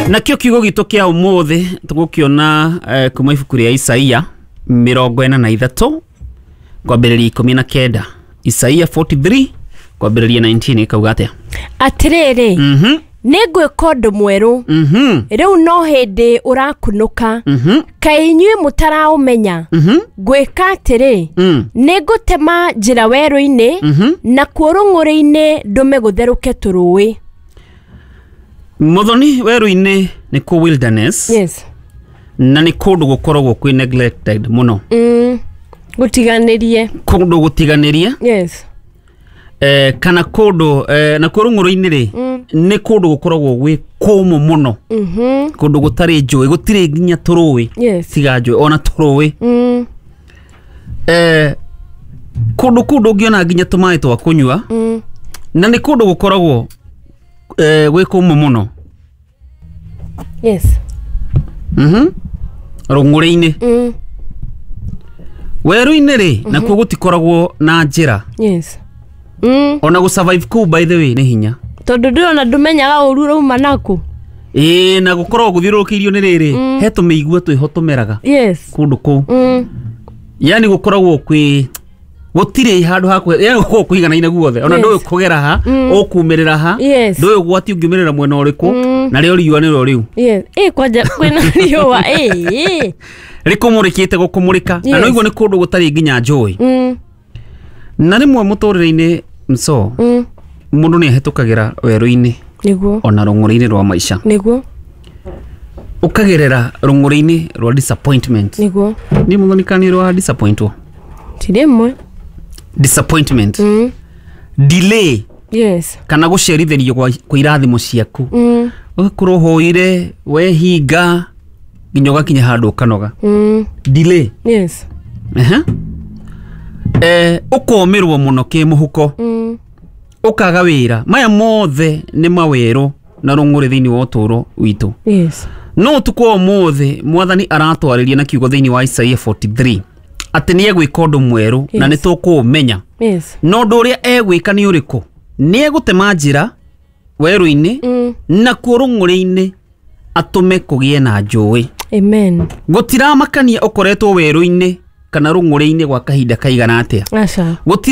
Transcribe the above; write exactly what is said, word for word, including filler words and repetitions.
Nakĩo kiugo gitũ kĩa ũmũthĩ tũgũkĩona eh, kuma ibuku rĩa Isaia mĩrongo ĩna na ithatũ kwambĩrĩria ikũmi na kenda. Isaia mĩrongo ĩna na ithatũ kwambĩrĩria ikũmi na kenda ĩkauga atĩa? Atĩrĩrĩ, mhm nĩ ngwĩka ũndũ mwerũ, mhm rĩu no hĩndĩ ũrakunũka. Mhm kaĩ inyuĩ mũtaraũmenya? Mhm ngwĩka atĩrĩ, mm nĩ ngũtema njĩra werũ-inĩ, mhm nakuo rũng'ũrĩ-inĩ ndũme gũtherũke tũrũĩ. Mũthoni, werũ-inĩ nĩ kũ wilderness, yes na nĩ kũndũ gũkoragwo kwĩ neglected mũno. mm. gũtiganĩrie. Kũndũ gũtiganĩrie. Yes eh, kana kũndũ eh, nakuo rũng'ũrũ-inĩ rĩ, Mm. nĩ kũndũ gũkoragwo gwĩ kũmũ mũno, mhm kũndũ gũtarĩ njũĩ, gũtirĩ nginya tũrũĩ. Yes tiga njũĩ ona tũrũĩ. mm. eh, kũndũ kũu ndũngĩona nginya tũmaĩ twa kũnyua, Mm. na nĩ kũndũ gũkoragwo eh, gwĩ kũmũ mũno. Yes mhm rũng'ũrĩ-inĩ. mm. Werũ-inĩ rĩ, nakuo gũtikoragwo na njĩra. yes mm. Ona gũ survive kũu, by the way, nĩ hinya. Tondũ ndũrona, ndũmenyaga ũru ũrauma naku. Ĩĩ, na gũkoragwo gũthiũrũrũkĩirio nĩ rĩrĩ, he tũmĩigua twĩho tũmeraga yes kũndũ kũu. mm. Yani gũkoragwo kwĩ gũtirĩ handũ ha kwe- yani gũkoragwo kũiganaine guothe, ona Yes. ndũĩ kũgera ha, ũkumĩrĩra ha, Yes. ndũĩ ũgwati ũngiumĩrĩra mwena ũrĩkũ, narĩo riũa nĩrĩo rĩu. Yes, ĩ kwanja kwĩna riũa, ĩ. Rĩkũmũrĩkĩte gũkũmũrĩka na Yes. noiguo nĩ kũndũ gũtarĩ nginya njũĩ. mm. Na rĩmwe mũtũrĩre-inĩ mso, mm. mũndũ nĩ ahĩtũkagĩra werũ-inĩ nĩguo ona rũng'ũrĩ-inĩ rwa maica, nĩguo ũkagerera rũng'ũrĩ-inĩ rwa disappointment. Nĩguo Nĩ mũthonikani rwa disappointwo? Ti rĩmwe. Disappointment, mm. delay, yes kana gũcerithĩrio gwa kwa irathimo ciaku. mm. Ũgakorwo ũhoire wehinga nginya ũgakinya handũ ũkanoga. Mm. Delay. Yes Ehe. Eh, ũkomĩrwo mũno kĩmũhuko, mm. ũkaga wĩra. Maya mothe nĩ mawerũ na rũng'ũrĩ thĩinĩ wa ũtũũro witũ. Yes no ũtukũ wa ũmũthĩ mwathani aratwarĩria na kiugo thĩinĩ wa Isaia mĩrongo ĩna na ithatũ atĩ nĩ egwĩka ũndũ mwerũ na Yes. nĩ tũkũũmenya. Yes na ũndũ ũrĩa egwĩka nĩ ũrĩkũ? Nĩ egũtema njĩra werũ-inĩ, mm. nakuo rũng'ũrĩ-inĩ atũme kũgĩe na njũĩ. Amen. Gũtiramakania ũkoretwo werũ-inĩ kana rũng'ũrĩ-inĩ gwa kahinda kaigana atĩa. Aca. Gũtirĩ.